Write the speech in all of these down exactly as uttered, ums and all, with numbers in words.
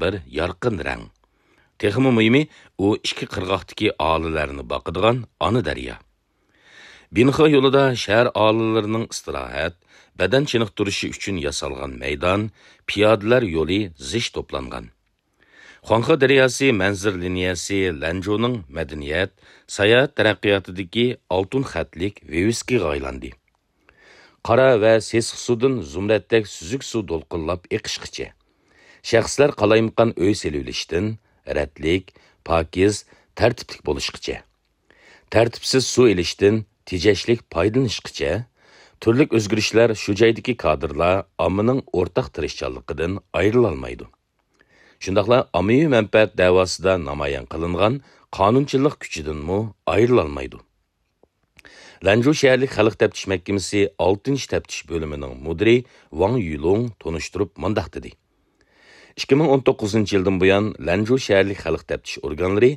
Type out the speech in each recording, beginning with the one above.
بىر يارقىن رەڭ. تېخىمۇ مۇھىمى، ئۇ ئىككى قىرغاقتىكى ئالىلەرنى باقىدىغان ئانا دەريا. بىنخې يولىدا شەھەر ئالىلىرىنىڭ ئىستىراھەت، بەدەن چېنىقتۇرۇشى ئۈچۈن ياسالغان مەيدان، پىيادىلەر يولى زىچ توپلانغان. خۇاڭخې دەرياسى مەنزىرە لىنىيەسى لەنجۇنىڭ مەدەنىيەت، ساياھەت تەرەققىياتىدىكى ئالتۇن خەتلىك ۋىۋىسكىغا ئايلاندى. قارا ۋە سېسىق سۇدىن زۇمرەتتەك سۈزۈك سۇ دولقۇنلاپ ئېقىشقىچە، شەخسلەر قالايمىقان ئۆي سېلىۋېلىشتىن رەتلىك، پاكىز، تەرتىپلىك بولۇشقىچە، تەرتىپسىز سۇ ئېلىشتىن تېجەشلىك پايدىلىنىشقىچە، تۈرلۈك ئۆزگىرىشلەر شۇ جايدىكى كادىرلار ئاممىنىڭ ئورتاق تىرىشچانلىقىدىن ئايرىلالمايدۇ. شۇنداقلا ئاممىۋى مەنپەئەت دەۋاسىدا نامايان قىلىنغان قانۇنچىللىق كۈچىدىنمۇ ئايرىلالمايدۇ. لەنجۇ شەھەرلىك خەلق تەپتىش مەھكىمىسى ئالتىنچى تەپتىش بۆلۈمىنىڭ مۇدىرى ۋاڭ يۈلۇڭ تونۇشتۇرۇپ مۇنداق دېدى: ئىككى مىڭ ئون توققۇزىنچى يىلدىن بۇيان، لەنجۇ شەھەرلىك خەلق تەپتىش ئورگانلىرى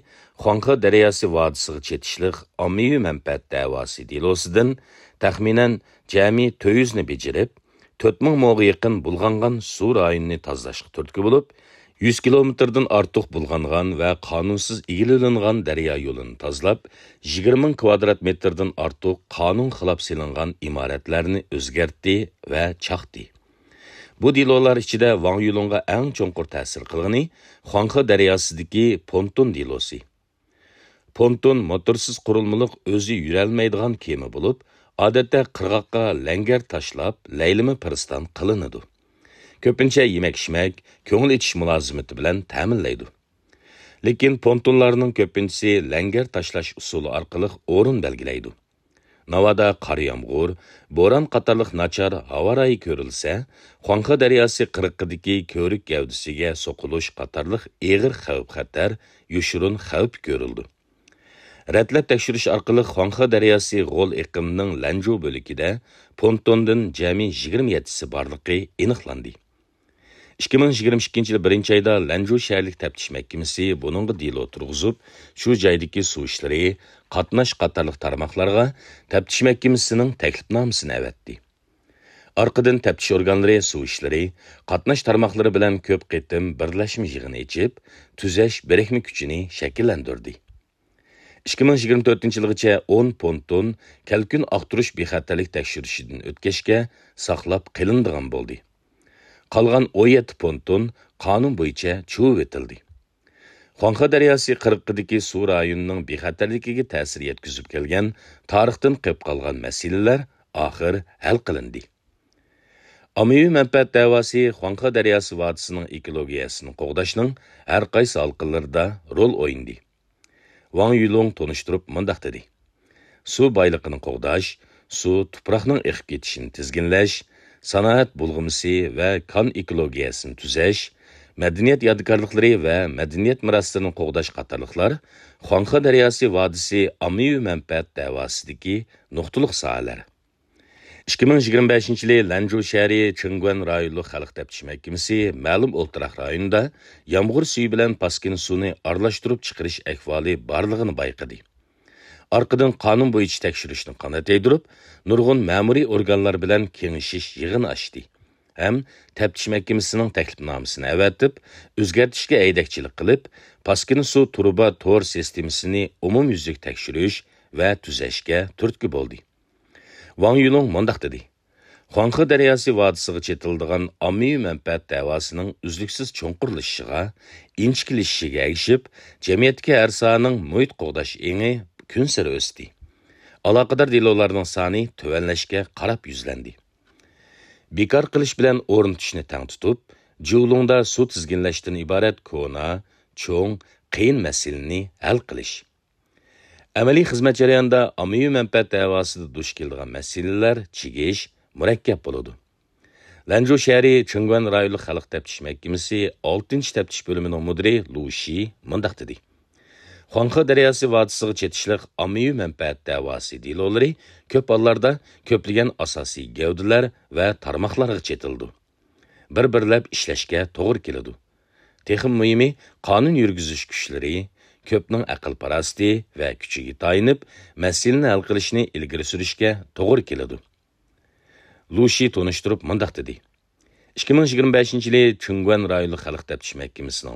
خۇاڭخې دەرياسى ۋادىسىغا چېتىشلىق ئاممىۋى مەنپەئەت دەۋاسى دېلوسىدىن تەخمىنەن جەمئىي تۆت يۈزنى بېجىرىپ، تۆت مىڭ موغا يېقىن بۇلغانغان سۇ رايونىنى تازىلاشقا تۈرتكە بولۇپ، يۈز كىلومېتىردىن ئارتۇق بۇلغانغان ۋە قانۇنسىز ئىگىلىنىدىغان دەريا يولىنى تازىلاپ، يىگىرمە مىڭ كىۋادرات مېتىردىن ئارتۇق قانۇن خىلاپ سېلىنغان ئىمارەتلەرنى ئۆزگەرتتى ۋە چاقتى. بۇ دېلولار ئىچىدە ۋاڭ يۈلۇڭغا ئەڭ چوڭقۇر تەسىر قىلغىنى خۇاڭخې دەرياسىدىكى پونتون دېلوسى. پونتون موتورسىز قۇرۇلمىلىق ئۆزى يۈرەلمەيدىغان كېمە بولۇپ، ئادەتتە قىرغاققا لەڭگەر تاشلاپ، لەيلىمە پىرىستان قىلىنىدۇ. كۆپىنچە يېمەك-ئىچمەك، كۆڭۈل ئېچىش مۇلازىمىتى بىلەن تەمىنلەيدۇ. لېكىن پونتونلارنىڭ كۆپىنچىسى لەڭگەر تاشلاش ئۇسۇلى ئارقىلىق ئورۇن بەلگىلەيدۇ. ناۋادا قار يامغۇر، بوران قاتارلىق ناچار ھاۋا رايى كۆرۈلسە، خۇاڭخې دەرياسى قىرغىقىدىكى كۆۋرۈك گەۋدىسىگە سوقۇلۇش قاتارلىق ئېغىر خەۋپ-خەتەر، يوشۇرۇن خەۋپ كۆرۈلىدۇ. رەتلەپ تەكشۈرۈش ئارقىلىق خۇاڭخې دەرياسى غول ئېقىنىنىڭ لەنجۇ بۆلىكىدە پونتوندىن جەمئىي يىگىرمە يەتتىسى بارلىقى ئېنىقلاندى. ئىككى مىڭ يىگىرمە ئىككىنچى يىل بىرىنچى ئايدا لەنجۇ شەھەرلىك تەپتىش مەھكىمىسى بۇنىڭغا دېلو تۇرغۇزۇپ، شۇ جايدىكى سۇ ئىشلىرى، قاتناش قاتارلىق تارماقلارغا تەپتىش مەھكىمىسىنىڭ تەكلىپنامىسىنى ئەۋەتتى. ئارقىدىن تەپتىش ئورگانلىرى سۇ ئىشلىرى، قاتناش تارماقلىرى بىلەن كۆپ قېتىم بىرلەشمە يىغىن ئېچىپ، تۈزەش بىرىكمە كۈچىنى شەكىللەندۈردى. ئىككى مىڭ يىگىرمە تۆتىنچى يىلغىچە ئون پونتون كەلكۈن ئاختۇرۇش بىخەتەرلىك تەكشۈرۈشىدىن ئۆتكەچكە ساقلاپ قېلىنىدىغان بولدى. قالغان ئون يەتتە پونتون قانۇن بويىچە چۇۋۇۋېتىلدى. خۇاڭخې دەرياسى قىرغىقىدىكى سۇ رايونىنىڭ بىخەتەرلىكىگە تەسىر يەتكۈزۈپ كەلگەن تارىختىن قېلىپ قالغان مەسىلىلەر ئاخىر ھەل قىلىندى. ئاممىۋى مەنپەئەت دەۋاسى خۇاڭخې دەرياسى ۋادىسىنىڭ ئېكولوگىيەسىنى قوغداشنىڭ ھەر قايسى ھالقىلىرىدا رول ئوينىدى. ۋاڭ يۈلۇڭ تونۇشتۇرۇپ مۇنداق دېدى: سۇ بايلىقىنى قوغداش، سۇ، تۇپراقنىڭ ئېقىپ كېتىشىنى تىزگىنلەش، سانائەت بۇلغىمىسى ۋە كان ئېكولوگىيەسىنى تۈزەش، مەدەنىيەت يادىكارلىقلىرى ۋە مەدەنىيەت مىراسلىرىنى قوغداش قاتارلىقلار خۇاڭخې دەرياسى ۋادىسى ئاممىۋى مەنپەئەت دەۋاسىدىكى نۇقتىلىق ساھەلەر. ئىككى مىڭ يىگىرمە بەشىنچى يىلى لەنجۇ شەھىرى چىڭگۈەن رايونلۇق خەلق تەپتىش مەھكىمىسى مەلۇم ئولتۇراق رايونىدا يامغۇر سۈيى بىلەن پاسكىنا سۇنى ئارىلاشتۇرۇپ چىقىرىش ئەھۋالى بارلىقىنى بايقىدى. ئارقىدىن قانۇن بويىچە تەكشۈرۈشنى قانات يايدۇرۇپ، نۇرغۇن مەمۇرىي ئورگانلار بىلەن كېڭىشىش يىغىنى ئاچتى ھەم تەپتىش مەھكىمىسىنىڭ تەكلىپنامىسىنى ئەۋەتىپ، ئۆزگەرتىشكە ھەيدەكچىلىك قىلىپ، پاسكىنا سۇ تۇرۇبا تور سىستېمىسىنى ئومۇميۈزلۈك تەكشۈرۈش ۋە تۈزەشكە تۈرتكە بولدى. ۋاڭ يۈلۇڭ مۇنداق دېدى: خۇاڭخې دەرياسى ۋادىسىغا چېتىلىدىغان ئاممىۋى مەنپەئەت دەۋاسىنىڭ ئۈزلۈكسىز چوڭقۇرلىشىشىغا، ئىنچىكىلىشىشىگە ئەگىشىپ، جەمئىيەتتىكى ھەر ساھەنىڭ مۇھىت قوغداش ئېڭى كۈنسېرى ئۆستى. ئالاقىدار دېلولارنىڭ سانى تۆۋەنلەشكە قاراپ يۈزلەندى. بىكار قىلىش بىلەن ئورنىتىشنى تەڭ تۇتۇپ، جۇلۇڭدا سۇ تىزگىنلەشتىن ئىبارەت كونا، چوڭ، قىيىن مەسىلىنى ھەل قىلىش. ئەمەلىي خىزمەت جەريانىدا ئاممىۋى مەنپەئەت دەۋاسىدا دۇچ كېلىدىغان مەسىلىلەر چىگىش، مۇرەككەپ بولىدۇ. لەنجۇ شەھىرى چىڭگۈەن رايونلۇق خەلق تەپتىش مەھكىمىسى ئالتىنچى تەپتىش بۆلۈمىنىڭ مۇدىرى لۇ شى مۇنداق دېدى: خۇاڭخې دەرياسى ۋادىسىغا چېتىشلىق ئاممىۋى مەنپەئەت دەۋاسى دېلولىرى كۆپ ھاللاردا كۆپلىگەن ئاساسىي گەۋدىلەر ۋە تارماقلارغا چېتىلىدۇ. بىر-بىرلەپ ئىشلەشكە توغرا كېلىدۇ. تېخىمۇ مۇھىمى، قانۇن يۈرگۈزۈش كۈچلىرى كۆپنىڭ ئەقىل-پاراسىتى ۋە كۈچىگە تايىنىپ، مەسىلىنى ھەل قىلىشنى ئىلگىرى سۈرۈشكە توغرا كېلىدۇ. لۇ شى تونۇشتۇرۇپ مۇنداق دېدى: ئىككى مىڭ يىگىرمە بەشىنچى يىلى چىڭگۈەن رايونلۇق خەلق تەپتىش